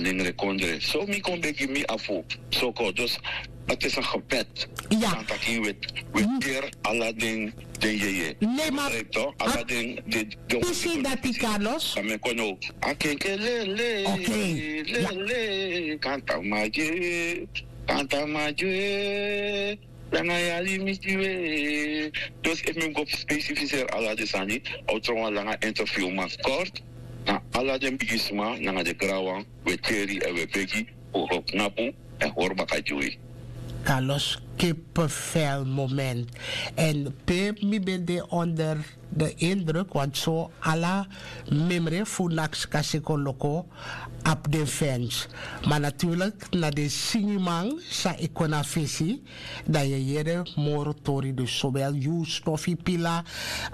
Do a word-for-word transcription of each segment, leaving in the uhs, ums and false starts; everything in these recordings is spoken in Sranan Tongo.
den rekondre. So mi kon begi mi afu. So ko dus het is een gebed. Ja. Dan taki we we deri ala den den yeye. Nee maar. Begrijp toch? Ala den den den pisi dati Carlos. Dan me kon no. Akenke lele. Oké. Lele. Kanta maje. Kanta maje. Langa yari miti we. Dus efu mi go specificeer ala den sani, a o tron wan langa interview, ma kort, na ala den bigisma nanga den granwan we teri èn we begi fu go knapu èn hori baka gi wi. Carlos, kippenvel moment. En pe mi ben de onder de indruk, want so ala memre fu nakskasi kon loko abi den fans. Ma natuurlik na den singiman san e kon na fesi, dan yu e yere moro tori, dus sowel yu, Stofi, Pila,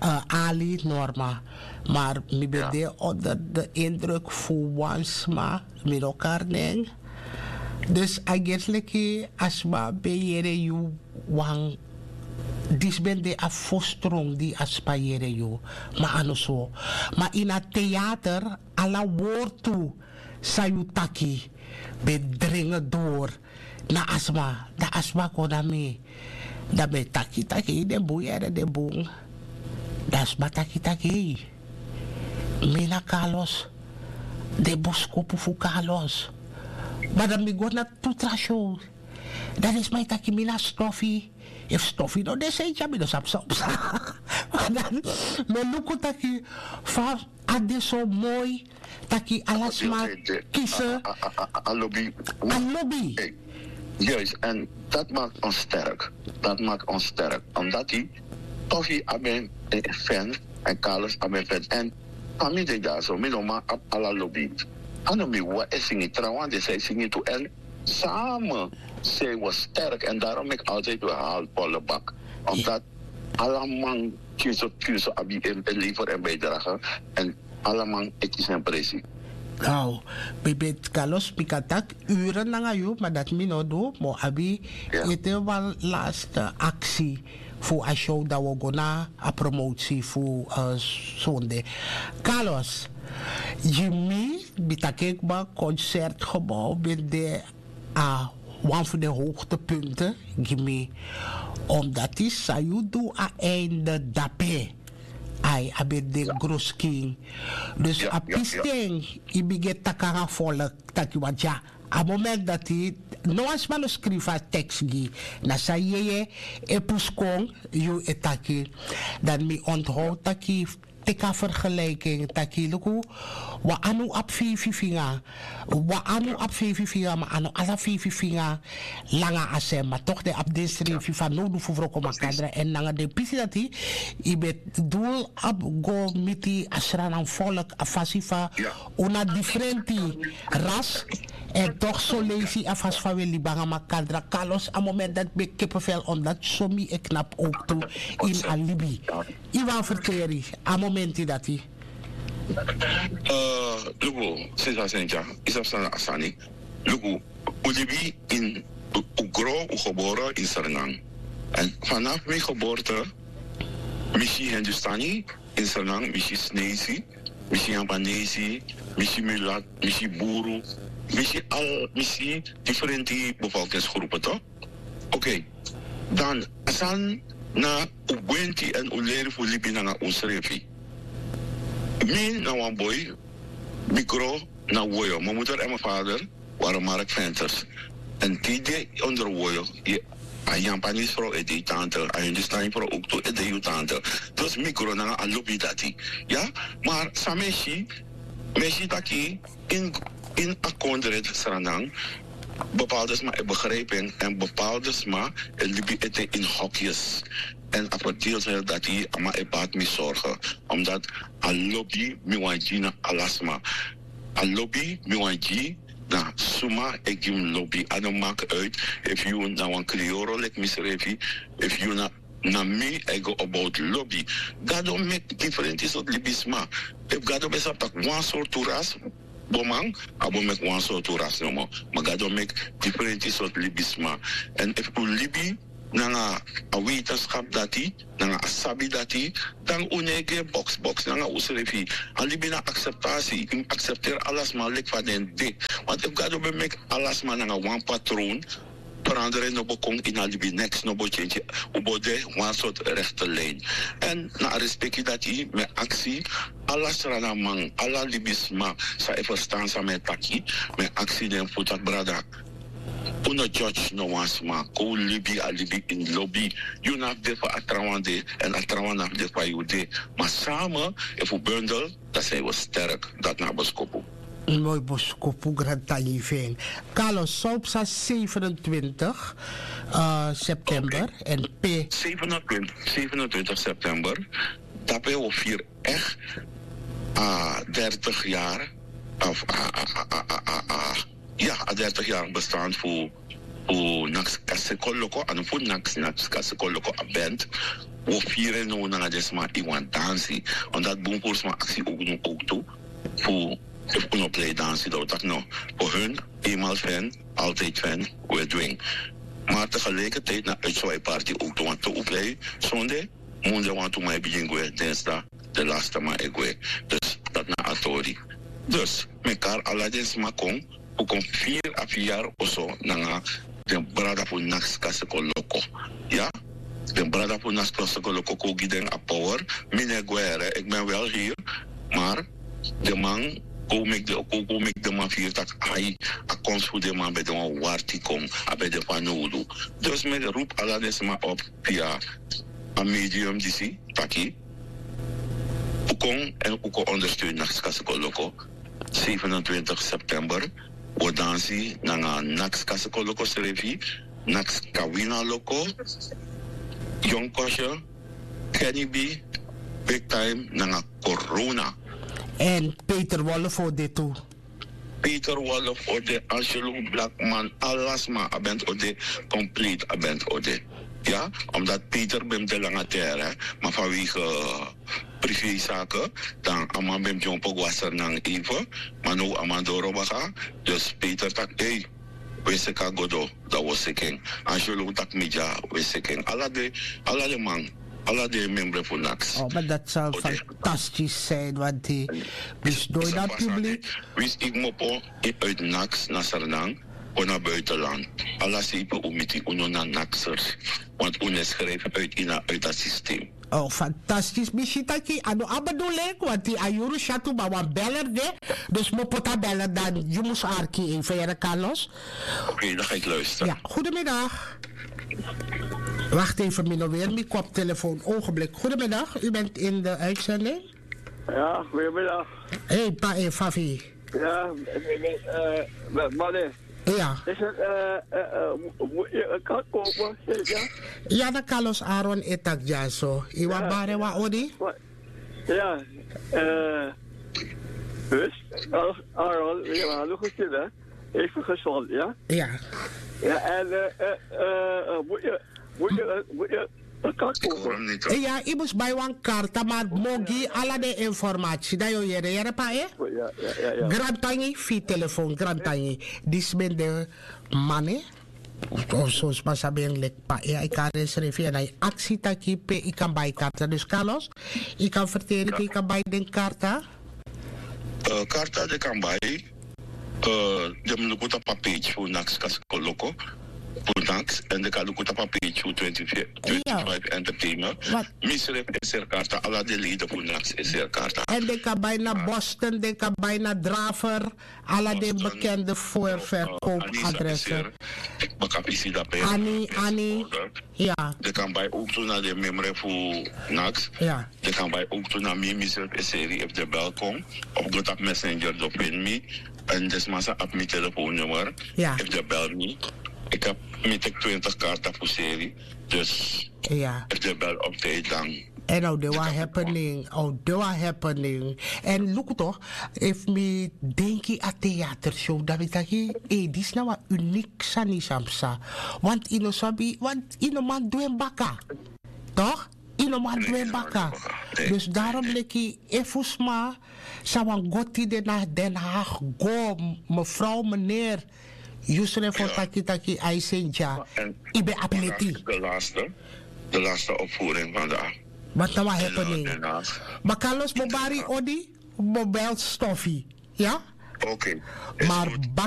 eh, Ali, Norma. Maar mi ben de onder de indruk fu wan sma, mi no kari nen. Dus a gesi leki a sma ben yere yu wan, disi ben de a fosi tron di a sma yere yu. Ma a no so. Ma ini a teater, ala wortu san yu taki ben dringi dori na a sma. Dan a sma kon na mi. Dan mi e taki taki den bun yere den bun. Dan a sma taki taki, mi na Carlos. Den boskopu fu Carlos. Ma dan mi go na tu tra show. Dan den sma e taki mi na Stofi. Efu Stofi no de, san e tyari mi, no sabi san o psa. Ma dan mi e luku taki fa a de so moi, taki ala sma kisi a lobi. A lobi. Juist, en dat maakt ons sterk. Dat maakt ons sterk. Omdat die Toffee abi en fan en Carlos abi en fan. En fa mi de dyaso, mi no man abi ala lobi. A no mi wawan e singi, trawan de san e singi tu. En samen zijn we sterk. En daarom mi altijd wil haal volle bak. Omdat ala man, pikin so pikin so abi en, en lever en bijdrage. En ala man e kisi en presi. Now, mi ben, Carlos, mi kan taki uren nanga yu, ma dati mi no du, mi o abi ete wan laatste aksi fu a show, dan wi o go na a promotie fu, eh, sonde. Carlos, gi mi, mi taki kba concertgebouw ben de a wan fu den hoogtepunten gi mi, omdat yu san yu du a einde dape. Ai, a ben de groskin. Dus a pisten yu bigin e taki nanga volk taki, want ya, a moment dati no wan sma no skrifi a tekst gi, na san yeye e pusu kon, yu e taki. Dan mi onthoud taki, teki a vergelijking taki luku, wan anu abi feifi finga, wan anu abi feifi finga, ma a no ala feifi finga langa a sem, ma toch den abi den srefi fanowdu fu wroko makandra. En nanga den pisi dati yu ben dul abi go miti a Sranan volk, a fasi fa un na difrenti ras. En toch soleisi a fasi fa un e libi nanga makandra. Carlos, a moment dati mi ben kippenvel, omdat so mi e knapu ook tu ini a libi. Yu wani ferteri a momenti dati? Eh, luku, sisa Sentia, yu sabi san na a sani. Luku, un libi ini, un gro, un gebore ini Sranan. En vanaf mi geboorte, mi si Hindustani ini Sranan, mi si Sneisi, mi si Yampanesi, mi si mulat, mi si buru, mi si al, mi si difrenti bevolkingsgroepen, toch? Oké, dan a sani na un gwenti en un leri fu libi nanga unsrefi. Mi na wan boi, mi gro na woyo. Mijn moeder en mijn vader waren marktventers. En te yu de onder woyo, a Yampanese vrouw e de yu tante, a Hindustani vrouw ook tu e de yu tante. Dus mi gro nanga a lobi dati. Ya, maar san mi e si, mi e si taki in, in a kondre Sranan, bepaalde sma e begrijpen en bepaalde sma e libi ete in hokjes. En a verdeeldheid dati, a man e bati mi zorgen. Omdat a lobi mi wani gi na ala sma. A lobi mi wani gi na suma e gi mi lobi. A no maak uit efu yu na wan krioro leki misrefi, efu yu na na mi e go about lobi. Gado meki difrenti sortu libisma. Efu Gado ben sabi taki wan sortu ras boman, a bo meki wan sortu ras nomo. Ma Gado meki difrenti sortu libisma. En efu un libi nanga a wetenskap dati, nanga a sabi dati, dan un no e gi en boksboks nanga unsrefi. A libi na akseptasi, yu mus aksepteri ala sma leki fa den de. Want efu Gado ben meki ala sma nanga wan patroon, verandering no bo kon ini a libi, neks no bo change. Un bo de wan sortu rechte lijn. Èn na a respeki dati mi e aksi ala sranaman, ala libisma san e ferstan san mi e taki, mi e aksi den fu taki brada, un no judge no wan sma. Kon un libi a libi ini lobi. Yu no abi de fa a trawan de, èn a trawan no abi de fa yu de. Ma samen, efu bundel, dan zijn we sterk. Dati na a boskopu. Moi boskopu, grantangi fu en. Carlos, san un psa zevenentwintig september èn pe? Zevenentwintig, zevenentwintig september, dape wi o firi echt a dertig jaar, of a, a, a, a, a, a, ja, a dertig jaar bestaan fu, fu Naks Kasekoloko, a no fu Naks, Naks Kasekoloko a band. Wi o firi en now nanga den sma ini wan dansi. Omdat bun furu sma aksi ook nu ook tu fu, efu un no plei dansi, dan wi taki no. Voor hun, eenmaal fan, altijd fan, we dwing. Maar tegelijkertijd na uitswaai party ook tu, want te un plei zonde, munde wantu man e bigin gwe, dinsdag de laatste man e gwe. Dus dati na a tori. Dus mi e kari ala den sma kon, un kon firi a firi yari oso nanga den brada fu Naks Kasekoloko. Ya? Den brada fu Naks Kasekoloko kon gi den a power. Mi no e gwe here, ik ben wel hier. Maar den man kon meki den, kon, kon meki den man firi taki ai, a komsi fu den man ben de wan warti kon, a ben de fanowdu. Dus mi e roepi ala den sma op via a medium disi, taki un kon èn un kon ondersteun Naks Kasekoloko. Zevenentwintig september, wi o dansi nanga Naks Kasekoloko srefi, Naks Kawina Loko, Yonkosje, Kenny B, Big Time nanga Corona. Èn Peter Wolf o de tu. Peter Wolf o de, Angelo Blackman, ala sma, a band o de, compleet a band o de. Ya, omdat Peter ben de langa terre, ma vanwege privézaken, dan a man ben dyompo go a Sranan even, ma now a man doro baka, dus Peter taki ei, wi e seki a Godo, dan wi o seki en. Angelo taki mi dya, wi e seki en. Ala den, ala den man, ala den membre fu Naks. Oh, maar dat zou fantastisch zijn, want die, dus nooit naar publiek. Winsi yu kmopo uit Naks na Sranan, kon na buitenland. Ala sei pe un miti, un no na Naksers. Want un no e schrijf uit ini a, uit a systeem. Oh, fantastisch. Mi si taki a no abi bedoeling, want a yuru syatu, ma wan beller de. Dus mi o poti a beller, dan yu mus arki even, yere Carlos. Oké, dan ga ik luisteren. Ja, goedemiddag. Wacht even, mi no weri mi koptelefoon. Ogenblik. Goedemiddag, u bent in de uitzending. Ja, goedemiddag. Hey, pa, eh, Fafi. Ja, eh, eh, mane. Ja. Is het, eh, eh, eh, mo-, mo-, eh, kan komen, ja? Ja, na Carlos Aaron e taki dyaso. Yu wani bari wan odi? Ja, eh, dus, Carlos Aaron, ja, hallo, goed, hè? Even gezond, ja? Ja. Ja, en, eh, eh, eh, eh, moet je, moet je, eh, moet je, eh, kan komen. Iya, yu mus bai wan karta, ma mi o gi ala den informasi, dan yu o yere, yere pa, eh? Ja, ja, ja, ja. Grantangi fu yu telefoon, grantangi. Disi ben de mane. Of son sma sabi en leki pa, eh, a e kari ensrefi èn a e aksi taki pe yu kan bai karta. Dus Carlos, yu kan ferteri pe yu kan bai den karta. Eh, karta den kan bai, eh, den mus luku tapu a page fu Naks Kasekoloko, fu Naks, èn den kan luku tapu a page fu twenty-five, twenty-five Entertainment. Misref e seri karta, ala den leden fu Naks e seri karta. Èn den kan bai na Boston, den kan bai na Draver, ala den bekende voorverkoopadressen. Bakafisi dape. Ani, Ani. Ja. Den kan bai ook tu na den memre fu Naks. Ja. Den kan bai ook tu na mi, misref e seri, efu den bel kon. Of go tapu Messenger, den o feni mi. Èn den sma sa abi mi telefoonnummer. Ja. Efu den bel mi. Ik heb, mi teki twintig karta fu seri. Dus efu den bel op tijd, dan. Èn a o de wan happening, a o de wan happening. Èn luku toch, efu mi denki a theatershow, dan mi taki, eh, disi na wan uniek sani san psa. Want yu no sabi, want yu no man du en baka. Toch? Yu no man du en baka. Dus daarom leki efu sma sa wani go tide na Den Haag, go, mevrouw, meneer. Yu srefi o taki taki a e seni dya. Yu ben abi leti. De laatste, de laatste opvoering vandaag. Wat na wan happening? Ma Carlos, mi o bari yu odi, mi o bel Stoffie. Ya. Oké. Mar